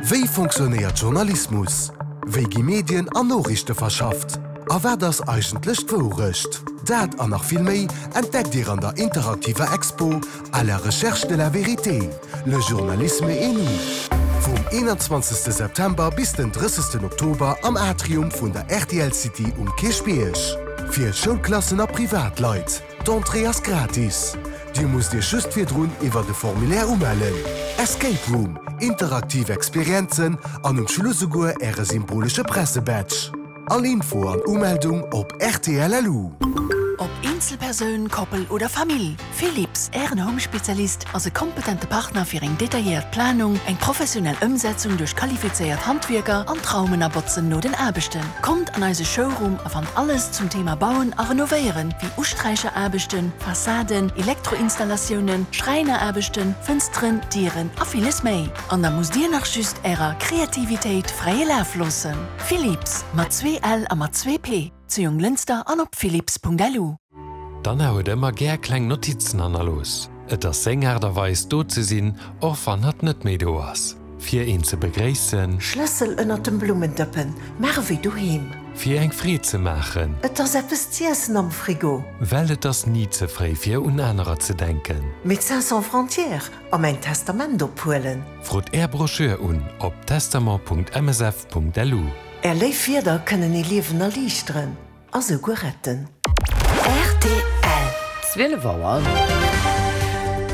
Wéi fonctionnéiert Journalismus? Wéi gi Medien an Noriichte verschafft? A wat ass eigentlech d'Wourecht? Dat an nach vill méi entdeckt Dir an der interaktiver Expo À la recherche de la vérité, le journalisme et nous vum 21 September bis den 30 Oktober am Atrium vun der rtl City um Kierchbierg. Fir Schoulklassen a Privatleit. D'Entrée ass gratis. Dir musst Iech just virdrun iwwert e Formulaire umellen. Escape Room, interaktiv Experienzen an um Schluss esouguer Äre symbolesche Pressebadge. All Info an Umeldung op rtl.lu. Ob Eenzelpersoun, Koppel oder Famill, Philips, Ären Home-Spezialist, ass e kompetente Partner fir eng detailléiert Planung, eng professionell Ëmsetzung duerch qualifizéiert Handwierker an d'Raumen a Botzen no den Aarbechten. Kommt an eise Showroom a fannt alles zum Thema Bauen a Renovéieren, wéi Usträicheraarbechten, Fassaden, Elektroinstallatiounen, Schräineraarbechten, Fënsteren, Dieren a villes méi. An da musst Dir nach just Ärer Kreativitéit fräie Laf loossen. Philips, mat zwee L a mat zwee P, zu Jonglënster an op philips.lu. D'Anna huet ëmmer gär kleng Notizen hannerlooss. Et ass seng Aart a Weis, do ze sinn, och wann hatt net méi do ass. Fir een ze begréissen. Schlëssel ënnert dem Blummendëppen, maach ewéi doheem. Fir eng Freed ze maachen. Et ass eppes z'iessen am Frigo. Well et ass ni ze fréi fir un anerer ze denken. Médecins sans frontières a mäin Testament ophuelen. Frot Är Broschür un op testament.msf.lu. Är léif Wierder kënnen ee Liewen erliichteren a souguer retten. Rtl. 12 Auer.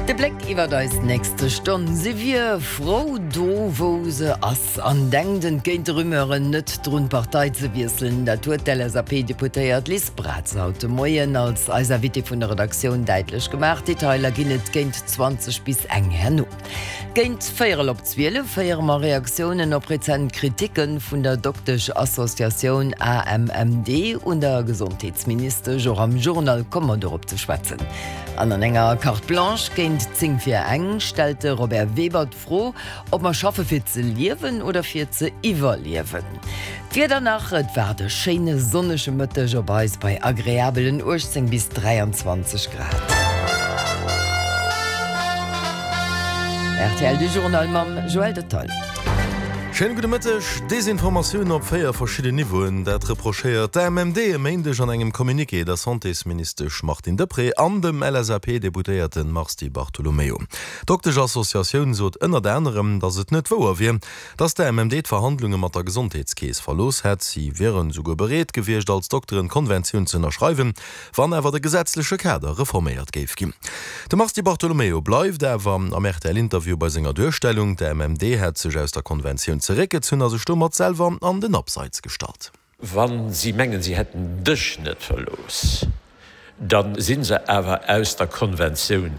De Bléck iwwert eis nächste Stonn. Si wier frou do wou se ass an denkt entgéint de Rumeuren net drun d'Partei ze wiesselen. Dat huet d'LSAP-Deputéiert Liz Braz haut de Moien als eis Invitée vun der Redaktioun däitlech gemaach. Detailer ginn et géint 20 bis eng herno. Géint véierel op 12 héiere mer Reaktiounen op rezent Kriticke vun der Doktesch-Associatioun AMMD un der Gesondheetsministesch. Och am Journal komme mer dorop ze schwätzen. An an enger Carte Blanche géint 10 vir eng stellt de Robert Weber d'Fro, ob mer schaffe fir ze liewen oder fir ze iwwerliewen. D'Wieder nach, Et waart e schéine sonnege Mëtteg op eis bei agreabelen 18 bis 23 Grad. Rtl, de Journal mam Joël Detaille. Schéine gudde Mëtteg. Desinformatioun op 4 verschidden Niveauen, dat reprochéiert d'AMMD e Méindeg an engem Communiqué der Santésministesch Martine Deprez an dem LSAP-Deputéierte Mars Di Bartolomeo. D'Doktesch-Associatioun sot ënnert anerem, datt et net wouer wier, Datt d'AMMD d'Verhandlunge mat der Gesondheetskeess verlooss hätt. Si wieren esouguer bereet gewiescht, als Dokteren d'Konventioun ze ënnerschreiwen, wann awer de gesetzleche Kader reforméiert géif ginn. De Mars Di Bartolomeo bleift awer am RTL-Interview bei senger Duerstellung, d'AMMD hätt sech aus der Konventioun zeréckgezunn a sech domat selwer an den Abseits gestallt. Wa si mengen, si hätten dech net verlooss, da si se awer aus der Konventioun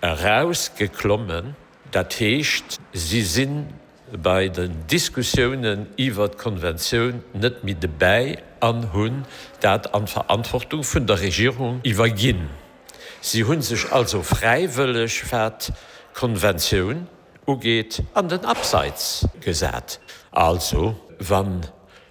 erausgeklommen. Dat heescht, si si bei den Diskussiounen iwwert d'Konventioun net méi debäi an hunn dat an d'Verantwortung vun der Regierung iwwerginn. Si hu sech also fräiwëlleg, wat d'Konventioun ugeet, an den Abseits gesat. Also, wann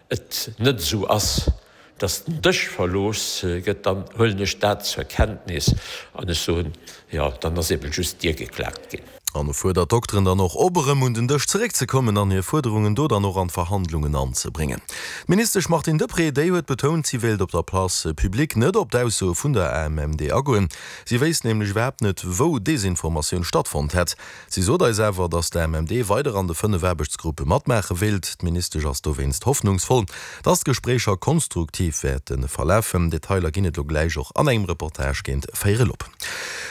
et net esou ass, dass den Dësch verlooss gëtt, dann huelen ech dat zur Kenntnis an ech soen, jo, dann ass eben just d'Dier geklaakt ginn. An e fuerdert d'Dokteren dann och op, erëm un den Dësch zeréckzekommen an hir Fuerderungen do dann och an d'Verhandlungen anzebréngen. D'Ministesch Martine Deprez, déi huet betount, si wéilt op der Place publique net op d'Aussoe vun der AMMD agoen. Si wéisst nämlech iwwerhaapt net, wou Desinformatioun stattfonnt hätt. Si sot eis awer, datt d'AMMD weider an de 5 Aarbechtsgruppe matmaache wéilt. D'Ministesch ass dowéinst hoffnungsvoll, datt d'Gespréicher konstruktiv wäerte verlafen. Detailer ginn et elo gläich och an engem Reportage géint véierel op.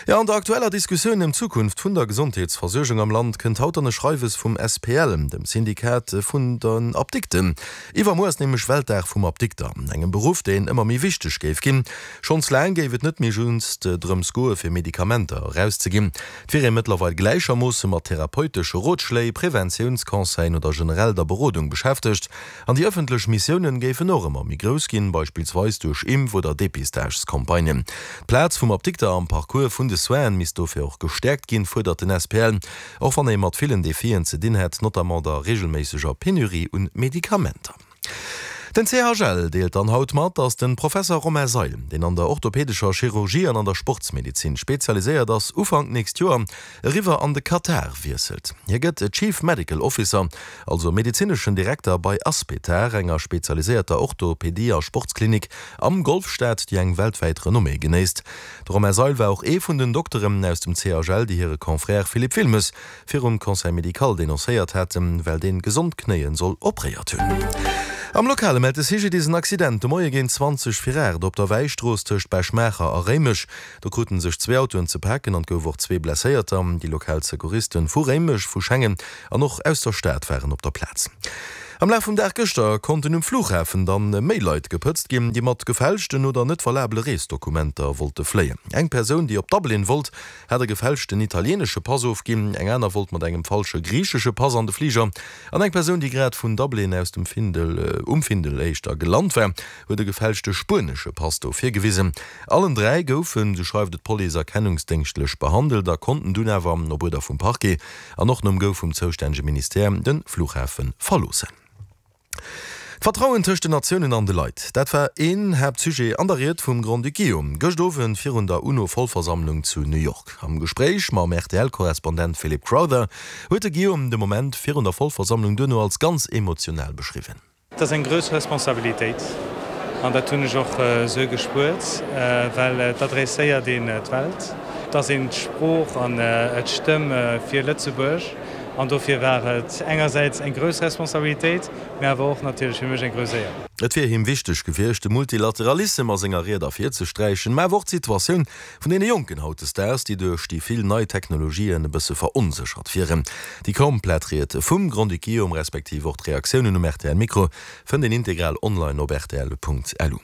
Jo, an der aktueller Diskussioun ëm d'Zukunft vun der Gesondheetsversuergung am Land kënnt haut dann e Schreiwes vum SPL, dem Syndikat vun den Apdikten. Iwwermuer ass nämlech Weltdag vum Apdikter, engem Beruff, deen ëmmer méi wichteg géif ginn. Schonns laang géif et net méi just drëms goe fir Medikamenter erauszeginn. Et wier ee mëttlerweil gläichermoosse mat therapeutesche Rotschléi, Preventiounsconseillen oder generell der Berodung beschäftegt. An déi ëffentlech Missiounen géifen och ëmmer méi grouss ginn, beispillsweis duerch Impf oder Depistagescampagnen. D'Plaz vum Apdikter am Parcours vun de Soinen misst dofir och gestäerkt ginn, fuerdert den SPL, och wann ee mat villen Defien ze dinn hätt, notamment der reegelméisseger Penurie un Medikamenter. Den CHL deelt dann haut mat, datt de Professer Romain Seil, deen an der orthopädescher Chirurgie an an der Sportsmedezin spezialiséiert ass, Ufank nächst Joer eriwwer an de Katar wiesselt. Hie gëtt Chief Medical Officer, also medezineschen Direkter bei Aspetar, enger spezialiséierter Orthopedie a Sportsklinik am Golfstaat, déi eng weltwäit Renommée genéisst. De Romain Seil war och ee vun den Dokteren aus dem CHL, déi hire Confrère Philippe Wilmes virum Conseil médical denoncéiert haten, well deen gesond Knéien soll opréiert hunn. Am Lokale mellt de CGDIS en Accident de Moie géint 20 vir 8 op der Wäistrooss tëscht Bech-Maacher a Réimech. Do kruten sech zwee Autoen ze paken an et gouf och zwee Blesséierter. Déi lokal Secouristen vu Réimech, vu Schengen an och aus der Stad waren op der Plaz. Am Laf vum Dag gëschter konnten um Flughafen dann méi Leit gepëtzt ginn, déi mat gefälschten oder net valabele Reesdokumenter wollte fléien. Eng Persoun, déi op Dublin wollt, hat e gefälschten italieenesche Pass ofginn, eng aner wollt mat engem falsche griichesche Pass an de Fliger an eng Persoun, déi grad vun Dublin aus dem Findel, um Findel éischter, gelant war, huet e gefälschte spuenesche Pass do virgewisen. Allen 3 goufen, sou schreift et d'Police, erkennungsdéngschtlech behandelt a konnten dunn awer, op Uerder vum Parquet an och nom Go vum zoustännege Ministère, de Flughafe verloossen. D'Vertrauen tëscht den Natiounen an de Leit, dat war een Haaptsujet an der Ried vum Grand-Duc Guillaume gëscht Owend virun der UNO-Vollversammlung zu New York. Am Gespréich mam RTL-Korrespondent Philip Crowther huet de Guillaume de Moment virun der Vollversammlung duerno als ganz emotional beschriwwen. Et ass eng grouss Responsabilitéit an dat hunn ech och esou gespuert, well et adresséiert een d'Welt, et ass een d'Sprooch an d'Stëmm fir Lëtzebuerg. An dofir war et engersäits eng grouss Responsabilitéit, mä awer och natierlech fir mech eng grouss Éier. Et wier him wichteg gewiescht, de Multilateralissem a senger Ried ervirzesträichen, mä awer och d'Situatioun vun deene Jonken hautdesdaags, déi duerch déi vill nei Technologien e bësse veronséchert wieren. Déi komplett Ried vum Grand-Duc Guillaume, respektiv och d'Reaktiounen um RTL-Mikro, fënnt een integral online op rtl.lu.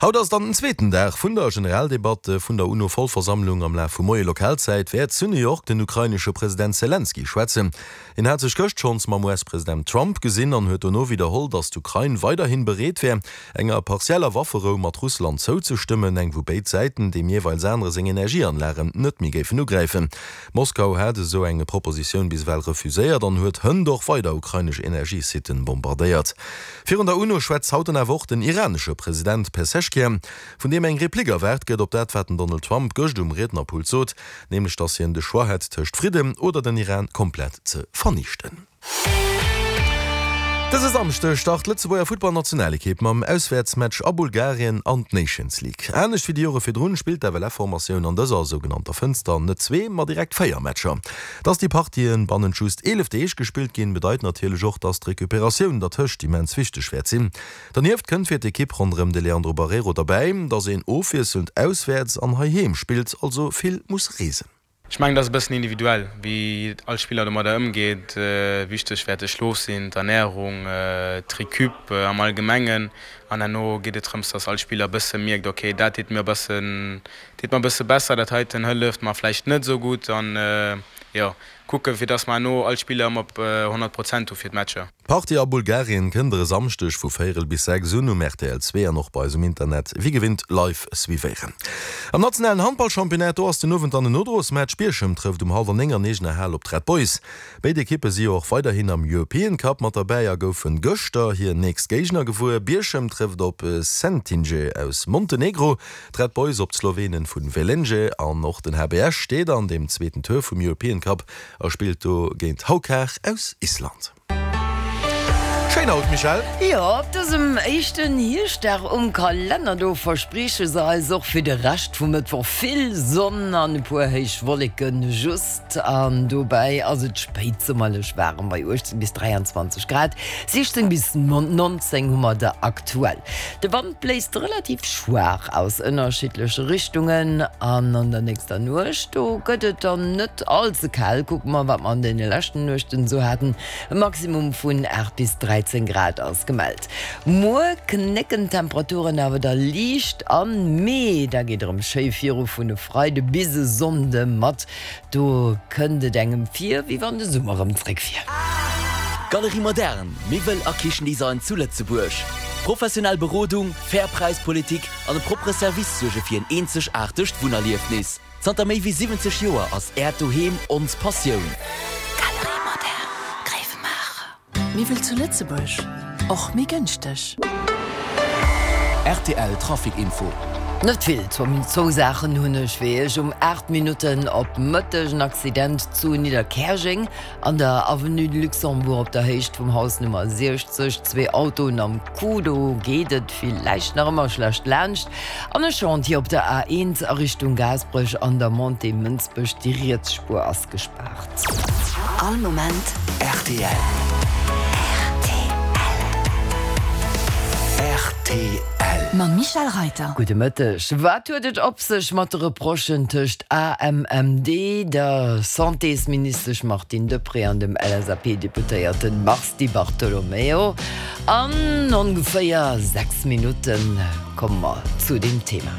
Haut ass dann den zweeten Dag vun der Generaldebatt vun der UNO-Vollversammlung. Am Laf vum Moie Lokalzäit wäert zu New York den ukrainesche President Selenskyj schwätzen. Hien hat sech gëscht schonns mam US-President Trump gesinn an huet dono widderholl, datt d'Ukrain weiderhi bereet wär, enger partieller Wafferou mat Russland zouzestëmmen, eng wou béid Säiten deem jeeweils anere seng Energieanlagen net méi géifen ugräifen. Moskau hat esou eng Propositioun bis ewell refuséiert an huet hënt och weider ukrainesch Energiesitten bombardéiert. Virun der UNO schwätzt haut dann awer och den iranesche President Pezeshkian, vun deem eng Replik erwaart gëtt op dat, wat den Donald Trump gëscht um Riednerpult sot, nämlech datt hien de Choix hätt tëscht Fridden oder den Iran komplett ze vernichten. Dëse Samschdeg start d'Lëtzebuerger Futtballnationalekipp mam Auswäertsmatch a Bulgarien an d'Nations League. Anescht wéi déi Jore virdrun spillt d'FLF-Formatioun an dëser sougenannter Fënster net zwee, ma direkt 4 Matcher. Dass déi Partien bannent just 11 Deeg gespillt ginn, bedeit natierlech och, dass d'Recuperatioun dertëscht immens wichteg wäert sinn. Dernieft kënnt fir d'Ekipp ronderëm de Leandro Barreiro derbäi, dass een ofwiesselnd auswäerts an heiheem spillt, also vill muss reesen. Ech mengen, dat ass e bëssen individuell, wéi all Spiller domadder ëmgeet. Wichteg wäert de Schlof sinn, d'Ernärung, d'Recup am Allgemengen. An herno geet et drëms, dass all Spiller e bësse mierkt, ok, dat deet mir e bëssen Deet mer bësse besser, dat heiten hëlleft mer vläicht net esou gutt an jo, kucken fir dass mer herno all Spiller ëmmer op 100 Prozent hu fir d'Matcher. D'Partie a Bulgarien kënnt der e Samschdeg vu véierel bis 6 un um rtl 2 an och bei eis um Internet wéi gewinnt live suivéieren. Am nationalen Handballchampionnat, do ass den Owend dann en Nodrosmatch. Bierchem trëfft um hallwer 9 an eegener Hal op d'Red Boys. Béid Ekippe si jo och weiderhin am European Cup mat derbäi a goufen gëschter hir nächst Géigner gewuer. Bierchem trëfft op Sentinje aus Montenegro, d'Red Boys op d'Slowenen vun Velenje an och den HB Esch steet an dem zweeten Tour vum European Cup a spillt do géint Haukar aus Island. Schéin haut, Michèle! Jo, op dësem éischten Hierschtdag um Kalenner, do versprieche se eis och fir de Rescht vum Mëttwoch vill Sonn an e puer héich Wolleken just. An dobäi ass et spéitsummerlech waarem bei 18 bis 23 Grad, 16 bis 19 hu mer der aktuell. De Wand bléist relativ schwaach aus ënnerschiddleche Richtungen an an der nächster Nuecht, do gëtt et dann net all ze kal. Kucke mer, wat mer an deene leschten Nuechten esou haten, E Maximum vun 8 bis 13 Grad ass gemellt. Muer knécken d'Temperaturen awer da liicht an, mee da geet erëm schéi viru vun e Freide bis e Sonnde mat Do kënnt et engem vir, wéi wann de Summer rëm zréck wier. Galerie Moderne, Miwwel a Kichendesign zu Lëtzebuerg. Professionell Berodung, fair Präispolitik an e proppere Service suerge fir en eenzegaartegt Wunnerliefnis. Zanter méi wéi 70 Joer ass Äert Doheem ons Passioun. Galerie Moderne, Gréiwemaacher. Miwwel zu Lëtzebuerg, och méi gënschteg. Rtl Trafic Info. Net vill, zwou Saachen hunn ech fir Iech. Um 8 Minutten op Mëtteg en Accident zu Nidderkäerjeng an der Avenue de Luxembourg op der Héicht vum Haus Nummer 60. Zwee Autoen am Coup, do geet et villäicht nach ëmmer schlecht laanscht. An e Chantier op der A1 a Richtung Gaasperech an der Montée Mënsbech, déi riets Spuer ass gespaart. All Moment rtl. Rtl. Mam Michel Reiter. Gudde Mëtteg. Wat huet et op sech mat de Reprochen tëscht AMMD, der Santésministesch Martine Deprez an dem LSAP-Deputéierten Mars Di Bartolomeo? An ongeféier 6 Minutte komme mer zu deem Thema.